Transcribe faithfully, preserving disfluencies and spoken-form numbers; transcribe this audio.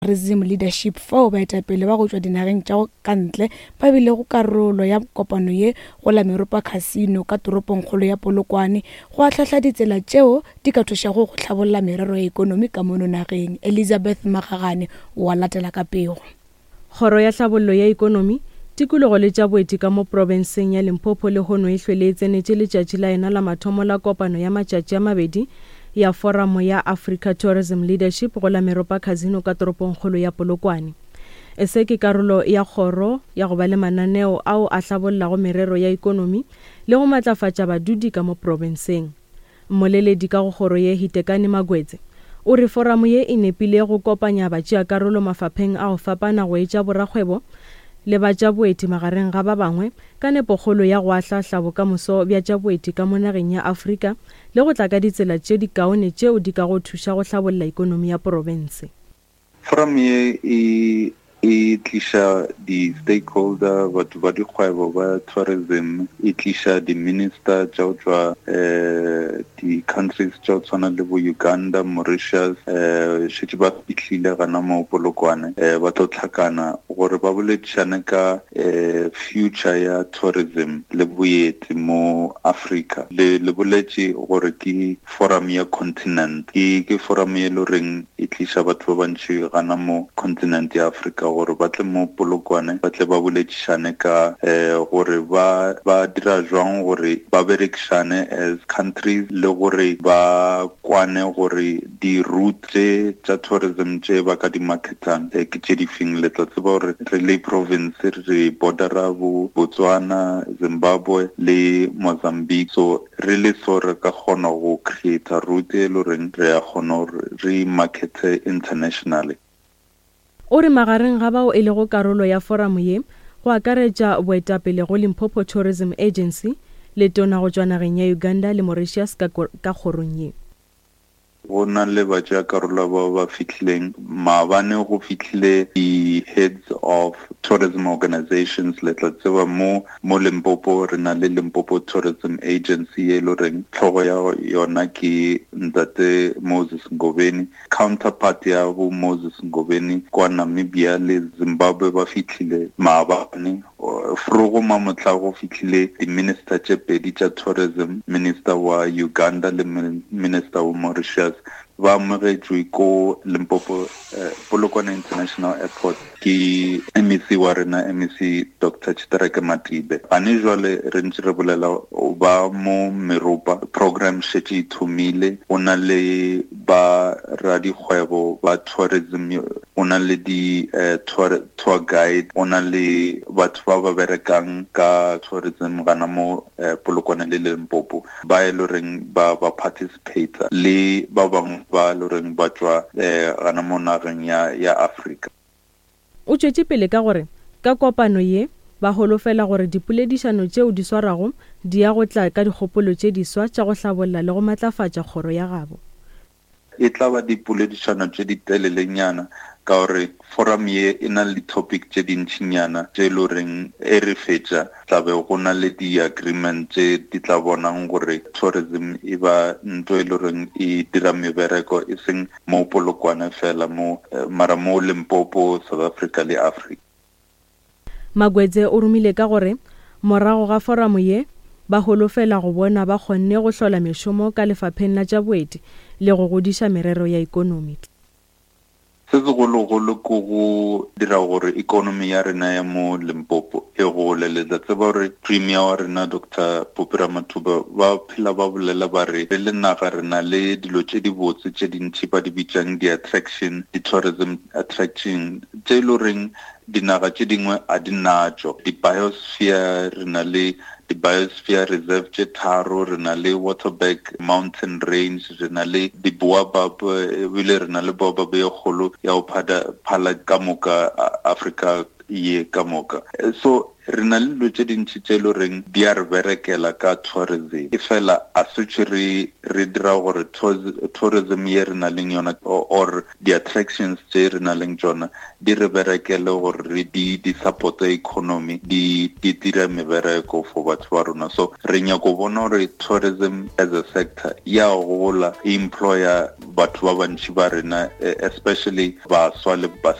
Tourism Leadership fao baetapele ba go tšwa dinageng tša ka ntle ba bilego karolo ya kopano ye go la Meropa Casino ka toropongkgolo ya Polokwane go ahlahla ditsela tšeo di ka thušago go hlabolla merero ya ekonomi ka mono nageng. Elizabeth Magagane o a latela ka pego. Kgoro ya Tlhabollo ya Ekonomi, Tikologo le tša Boeti ka mo profenseng ya Limpopo lehono e hlwele e tsenetše letšatši la yona la mathomo la kopano ya matšatši a mabedi ya Foramo ya Africa Tourism Leadership go la Meropa Casino ka toropongkgolo ya Polokwane. Se ke karolo ya kgoro ya go ba le mananeo ao a hlabollago merero ya ekonomi le go matlafatša badudi ka mo profenseng. Mmoleledi ka go kgoro ye Hitekani Magwetse o re foramo ye e nepile go kopanya batšeakarolo mafapheng a go fapana go etša borakgwebo le ba tša boeti magareng ga ba bangwe ka nepokgolo ya go ahlahla bokamoso bja tša boeti ka mo nageng ya Afrika le go tla ka ditsela tše dikaone tšeo di ka go thuša go hlabolla ekonomi ya profense. Forum ye e e tliša di-stakeholder, batho ba dikgwebo ba tourism, e tliša di-minister tša go tšwa um di-countries tša go tshwana le bo Uganda, Mauritius, um šetše ba fihlile gana mo Polokwane, um ba tlo hlakana gore ba boledišane ka um future ya tourism le boeti mo Africa. Le le boletše gore ke forum ya continent, ke ke forum ye le goreng e tliša batho ba bantši gana mo continent ya Africa gore ba tle mo Polokwane, ba tle ba boledišane ka um gore ba ba dira jwang gore ba berekišane as countries le gore ba kwane gore di-route tše tša tourism tše ba ka di marketang ke tše di feng. Le tla tseba gore re le province re bordera bo Botswana, Zimbabwe le Mozambique, so re le so re ka kgona go create route e le goreng re a kgona gore re markete internationally. O re magareng ga bao e lego karolo ya foramo ye go akaretša boetapele go Limpopo Tourism Agency le tona go tšwa nageng ya Uganda le Mauritius ka ka kgorong ye. Go na le batšeakarolo ba ba fihlileng maabane, go fihlile di-heads of tourism organizations. Le tla tseba mo mo Limpopo re na le Limpopo Tourism Agency ye le goreng tlhogo ya yona ke ntate Moses Ngobeni. Counterpart ya bo Moses Ngobeni kwa Namibia le Zimbabwe ba fihlile maabane. Frogo mamotla go fihlile di-minister tše pedi tša tourism, minister wa Uganda le minister wa Mauritius, ba amogetšwe ko Limpopo eh, Polokwane International Airport ke M E C wa rena, M E C Doctor Tshitereke Matibe. Gane jwale re ntse re bolela ba mo Meropa, program šetše e thomile, go na le ba radikgwebo ba tourism, go na le di eh, tour, tour guide, go na le batho ba ba berekang ka tourism gana mo eh, Polokwane le Limpopo ba e le goreng ba ba participate le ba bangwe ba le goreng ba tšwa eh, gana mo nageng ya ya Afrika. O tšwetše pele ka gore ka kopano ye ba holofela gore dipoledišano tšeo di swarwago di ya go tla ka dikgopolo tše diswa tša go hlabolla le go matlafatša kgoro ya gabo. E tla ba dipoledišano tše di telelenyana ka gore forum ye e na le di-topic tše dintšinyana tše e le goreng e re fetša tla be go na le di-agreement tše di tla bonang gore tourism e ba ntho e le goreng e dira mebereko e seng mo Polokwane fela mo mara mo Limpopo, South Africa le Africa. Magwetse o romile ka gore morago ga foramo ye ba holofela go bona ba kgonne go hlola mešomo ka lefapheng la tša boeti le go godiša merero ya ekonomi. Se segologolo ke go dira gore economy ya rena ya mo Limpopo e gole. Le tla tseba gore Premier wa rena Doctor Phophi Ramathuba ba phela ba bolela ba re re le naga re na le dilo tše dibotse tše dintši ba di bitšang di-attraction, di-tourism attraction tše e le goreng dinaga tše dingwe a di natšo. Di-biosphere, re na le di-biosphere reserve tše tharo, re na le Waterberg mountain range, re na le di-baobab, ebile re na le baobab ye kgolo ya go phala ka moka Africa ye ka moka. So re na le dilo tše dintši tše e le goreng di a re berekela ka tourism, e fela a setse re re dira gore tourism ye re na leng yona or di-attractions tše re na leng tsona di re berekele gore re di di support economy, di di dira mebereko for batho ba rona. So re nyako bona gore tourism as a sector ya gola, employer batho ba bantši ba rena, especially baswa le